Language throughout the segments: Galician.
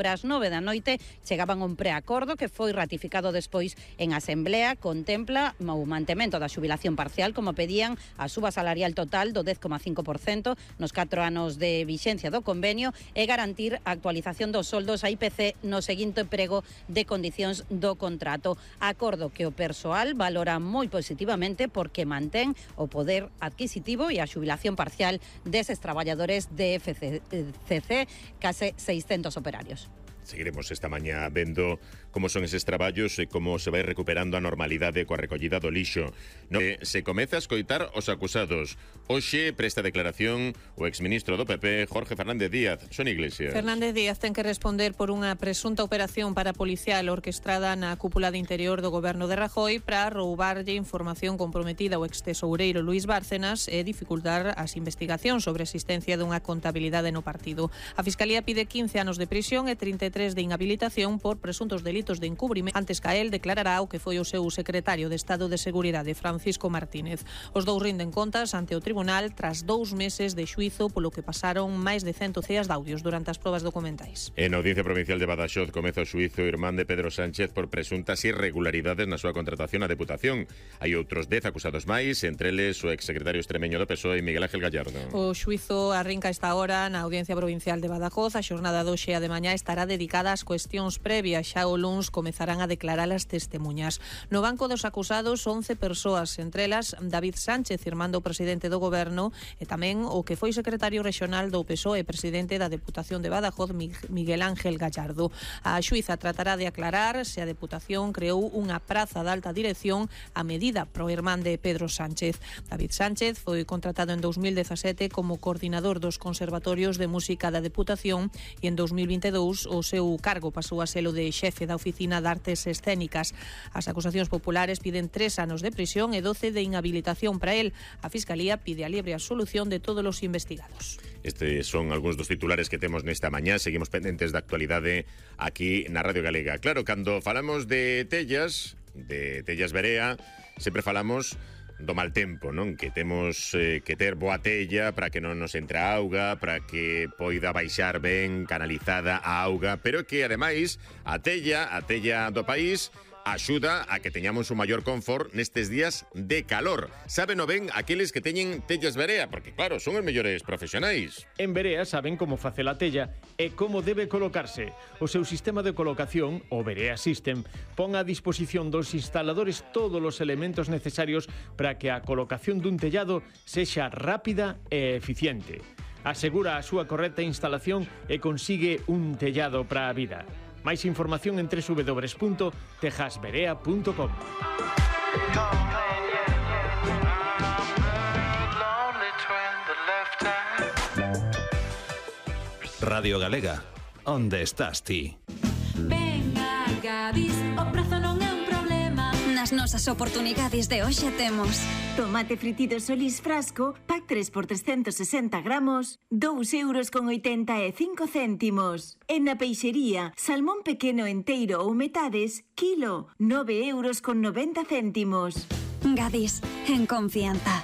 Ás 9 da noite chegaban a un preacordo que foi ratificado despois en Asamblea. Contempla o mantemento da xubilación parcial, como pedían, a suba salarial total do 10,5% nos 4 anos de vixencia do convenio e garantir a actualización dos soldos a IPC no seguinte prego de condicións do contrato. Acordo que o persoal valora moi positivamente porque mantén o poder adquisitivo e a xubilación parcial deses traballadores de FCC, case 600 operarios. Seguiremos esta mañá vendo como son eses traballos e como se vai recuperando a normalidade coa recollida do lixo. Se comeza a escoitar os acusados. Hoxe presta declaración o exministro do PP, Jorge Fernández Díaz. Son Iglesias. Fernández Díaz ten que responder por unha presunta operación parapolicial orquestrada na cúpula de interior do goberno de Rajoy para roubarlle información comprometida ao extesoureiro Luís Bárcenas e dificultar as investigacións sobre a existencia dunha contabilidade no partido. A Fiscalía pide 15 anos de prisión e 33 de inhabilitación por presuntos delitos de encubrimento. Antes que él declarará o que foi o seu secretario de Estado de Seguridade, Francisco Martínez. Os dous rinden contas ante o tribunal tras 2 meses de xuízo polo que pasaron máis de 100 ceas de audios durante as probas documentais. En Audiencia Provincial de Badaxoz comeza o xuízo irmán de Pedro Sánchez por presuntas irregularidades na súa contratación á Deputación. Hai outros 10 acusados máis, entre eles o exsecretario extremeño do PSOE, Miguel Ángel Gallardo. O xuízo arrinca esta hora na Audiencia Provincial de Badajoz. A xornada de hoxe e de mañá estará dedicada ás cuestións previas. Xa o luns comezarán a declarar as testemunhas. No banco dos acusados 11 persoas, entre elas David Sánchez, irmán do presidente do goberno, e tamén o que foi secretario rexional do PSOE e presidente da Deputación de Badajoz, Miguel Ángel Gallardo. A xuíza tratará de aclarar se a Deputación creou unha praza de alta dirección a medida pro irmán de Pedro Sánchez. David Sánchez foi contratado en 2017 como coordinador dos conservatorios de música da Deputación e en 2022 o seu cargo pasou a selo de xefe da Oficina de Artes Escénicas. As acusacións populares piden 3 anos de prisión e 12 de inhabilitación para él. A Fiscalía pide a libre absolución de todos os investigados. Estes son algúns dos titulares que temos nesta mañá. Seguimos pendentes da actualidade aquí na Radio Galega. Claro, cando falamos de tellas Berea, sempre falamos do mal tempo, non? Que temos que ter boa tella para que non nos entre a auga, para que poida baixar ben canalizada a auga, pero que ademais a tella do país axuda a que teñamos un maior confort nestes días de calor. Sábeno ben aqueles que teñen tellas Berea, porque claro, son os mellores profesionais. En Berea saben como facer a tella e como debe colocarse. O seu sistema de colocación, o Berea System, pon a disposición dos instaladores todos os elementos necesarios para que a colocación dun tellado sexa rápida e eficiente. Asegura a súa correcta instalación e consigue un tellado para a vida. Máis información en www.tejasberea.com. Radio Galega, onde estás ti? Venga, Gadis, o prazo non é un problema. Nas nosas oportunidades de hoxe temos tomate fritido Solís frasco, pack 3 por 360 gramos, 2,85 €. En na peixería, salmón pequeno enteiro ou metades, kilo, 9,90 €. Gadis, en confianza.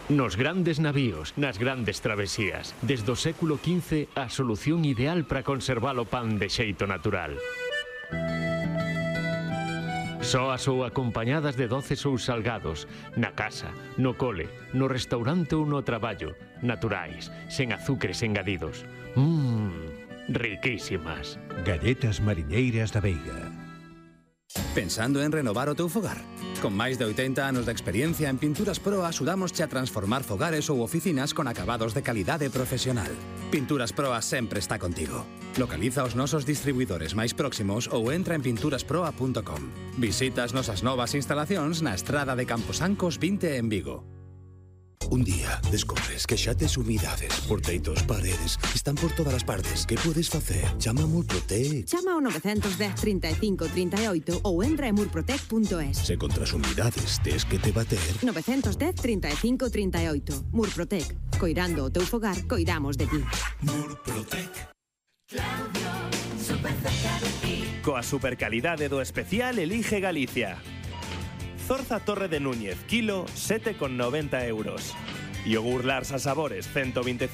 Nos grandes navíos, nas grandes travesías, desde o século XV, a solución ideal para conservar o pan de xeito natural. Soas ou acompañadas de doces ou salgados, na casa, no cole, no restaurante ou no traballo, naturais, sen azucres engadidos. Riquísimas. Galletas mariñeiras da Veiga. Pensando en renovar o teu fogar? Con máis de 80 anos de experiencia en Pinturas Proa axudámosche a transformar fogares ou oficinas con acabados de calidade profesional. Pinturas Proa sempre está contigo. Localiza os nosos distribuidores máis próximos ou entra en pinturasproa.com. Visita as nosas novas instalacións na Estrada de Camposancos 20 en Vigo. Un día descobres que xa tes humidades por teitos, paredes, están por todas as partes. Que podes facer? Chama a Murprotec. Chama ao 910 35 38 ou entra en murprotec.es. Se contra as humidades tes que te bater. 910 35 38. Murprotec. Coirando o teu fogar, coidamos de ti. Murprotec. Claudio, super cerca de ti. Coa supercalidade do especial elige Galicia. Zorza Torre de Núñez, kilo, 7,90 €. Yogur Larsa Sabores, 125